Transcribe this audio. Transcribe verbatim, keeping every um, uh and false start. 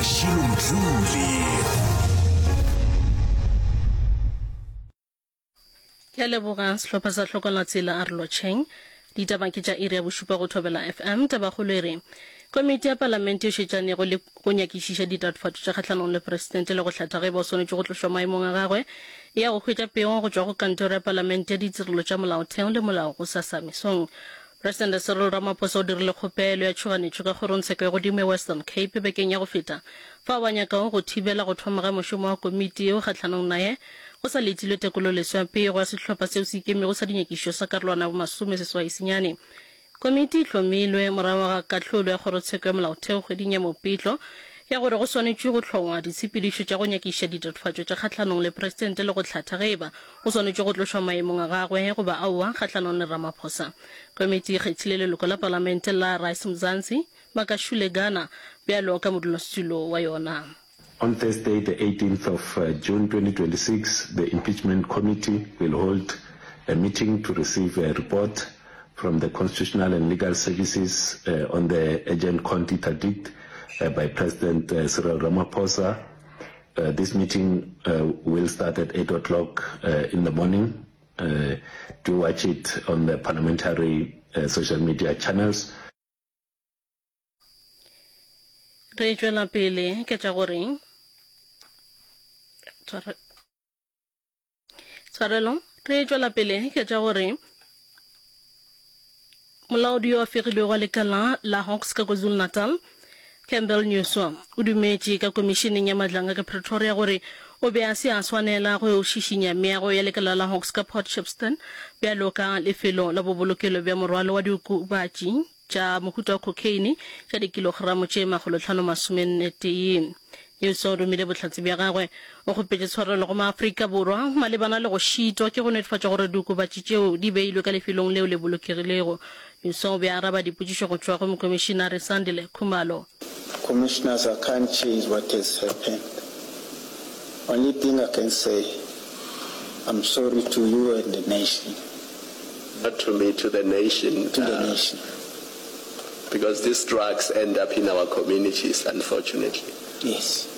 Mashilo Mdluli. Ke a leboga sehlopha sa Hlokolatsela a re lotšheng. Ditaba ke tša iri ya bošupa go Thobela F M. Tabakgolo e re, Komiti ya Palamente e šetšanego le go nyakišiša ditatofatšo tša kgahlanong le Presidente le go hlatha ge e ba o swanetše go tlošwa maemong a gagwe e ya go hwetša pego go tšwa go Kantoro ya Palamente ya Ditirelo tša Molaotheo le Molao gosasa mesong. Presidente Cyril Ramaphosa o dirile kgopelo ya tšhoganetšo ka Kgorongtsheko ya Godimo ya Western Cape bekeng ya go feta fao a nyakago go thibela go thoma ga mošomo wa komiti yeo kgahlanong naye go sa letilwe tekololeswa ya pego ya sehlopha seo se ikemego sa dinyakišišo sa karolwana ya bomasome seswai senyane. Komiti e hlomilwe morago ga kahlolo ya Kgorotsheko ya Molaotheo kgweding ya Mopitlo ya gore go swanetšwe go hlongwa ditshepedišo tša go nyakišiša ditatofatšo tša kgahlanong le Presidente le go hlatha ge eba o swanetšwe go tlošwa maemong a gagwe goba aowa kgahlanong le Ramaphosa. Komiti e kgethile leloko la Palamente la Rise Mzansi, Makashule Gana, bjalo ka modulasetulo wa yona. On Thursday, the eighteenth of June twenty twenty-six, the Impeachment Committee will hold a meeting to receive a report from the Constitutional and Legal Services uh, on the urgent court interdict uh, by President uh, Cyril Ramaphosa. Uh, this meeting uh, will start at eight o'clock uh, in the morning. Uh, do watch it on the parliamentary uh, social media channels. Re tšwela pele ke tša gore tshwarelo re tšwela pele ke tša gore molaodi yo a fegilwego wa lekala la Hawks ka KwaZulu-Natal, Campbell Newsome, o dumetše ka komišeneng ya Madlanga ka Pretoria gore o be a se a swanela go šišinya meago ya lekala la Hawks ka Port Shepstone bjalo ka lefelo la bobolokelo bja morwalo wa diokobatši tša mohuta wa cocaine tša dikilogramo tše makgolotlhano masomenne tee. Newsom o romile bohlatse bja gagwe o kgopetše tshwarelo go maAfrika Borwa malebana le go šitwa ke go netefatša gore diokobatši tšeo di beilwe ka lefelong leo le bolokegilego. Newsom o be a araba dipotšišo go tšwa go Mokomišinare Sandile Khumalo. Commissioners, I can't change what has happened. Only thing I can say, I'm sorry to you and the nation. Not to me, to the nation. To the uh, nation. Because these drugs end up in our communities, unfortunately. Yes.